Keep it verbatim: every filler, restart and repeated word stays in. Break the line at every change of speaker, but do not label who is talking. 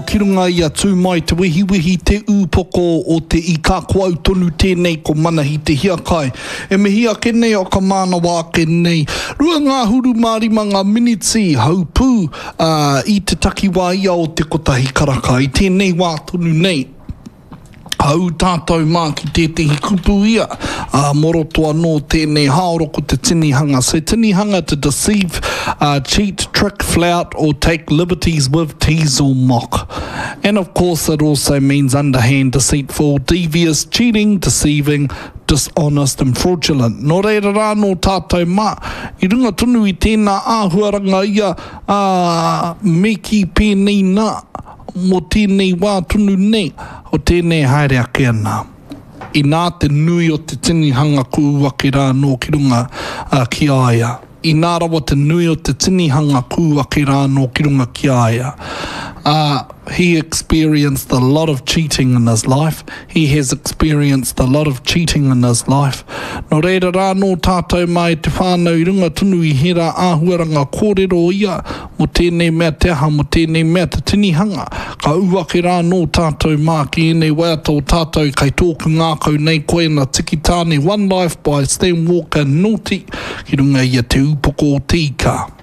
Ki runga i a Tū Mai Te Wehiwehi te ūpoko o te ika, ko au tonu tēnei ko Manahi Te Hiakai. E mihi ake nei o ka mānawa ake nei. Rua ngāhuru mā rima ngā miniti haupū ā, i te takiwā ia o te kotahi karaka i tēnei wā tonu nei. Ka ū tātou mā ki tētehi kupu ia, ā, mō roto anō tēnei haoro ko te tinihanga. So tinihanga to deceive, uh, cheat, trick, flout or take liberties with, tease or mock. And of course it also means underhand, deceitful, devious, cheating, deceiving, dishonest and fraudulent. Nō reira rā nō tātou mā, i runga tonu i tēnā āhuaranga ia, ā, me kī pēnei nā, mō tēnei wā tonu nei, o tēnei haere ake ana. Inā te nui o te tinihanga ku ū ake rā anō ki runga ki a ia. Inā rawa te nui o te tinihanga ku ū ake rā anō ki runga ki a ia. Ā, he experienced a lot of cheating in his life, he has experienced a lot of cheating in his life. Nō reira rā anō tātou mā e te whānau i runga tonu i hērā āhuaranga kōrero ia mō tēnei mea te aha, mō tēnei mea te tinihanga. Ka ū ake rā anō tātou mā ki ēnei waiata o tātou kei tōku ngākau nei koe na Tiki Taane One Life by Stan Walker Naughty ki runga i a Te Ūpoko o Te Ika.